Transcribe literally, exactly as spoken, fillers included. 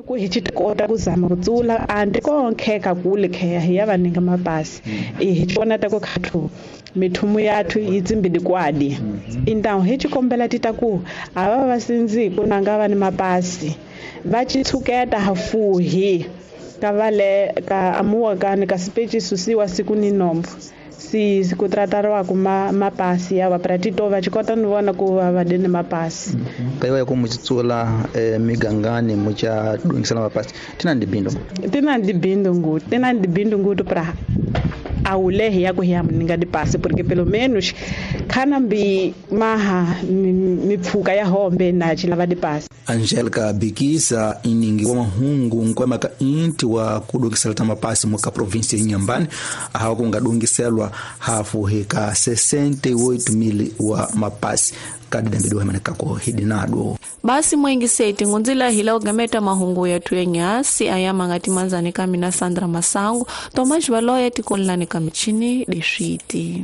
Ku hi kota ku zama ku tsula andi konkheka kule kheya hi ya vaninga mapasi hi vona ta ku khathu mithumu yathu yi tsimbili kwadi indawo hi xikombela ti ta ku a va va sindzi ku nanga va ni mapasi va ci tshuketa hafuhi ka vale ka amuwa ka ka sipechi susiwa siku ni nombo si ku tratariwa ku ma mapasi ya va pratito va xikota ni vona ku va va dini mapasi kaiwa ku muchitsula eh, migangani mucha dungisela mapasi tina ndibindo tina ndibindo ngutu tina ndibindo ngutu pra awulehi ya ku ya mninga dipasi porque pelo menos khana mbi maha mipfuka ya hombe na chilava dipasi. Angelica Bikisa iningi wa mahungu nkwema ka inti wa kudungisela ta mapasi muka provinsi ya Inhambane ahawa kungadungiselwa hafu heka sessenta e oito mil wa mapasi kadidambidu hemanekako hidinado. Basi mwengi seti ngunzila hila ugameta mahungu yetu yenyasi ayama ngati manzani kamina Sandra Masangu Tomash Baloya tikolani kamichini deshiti.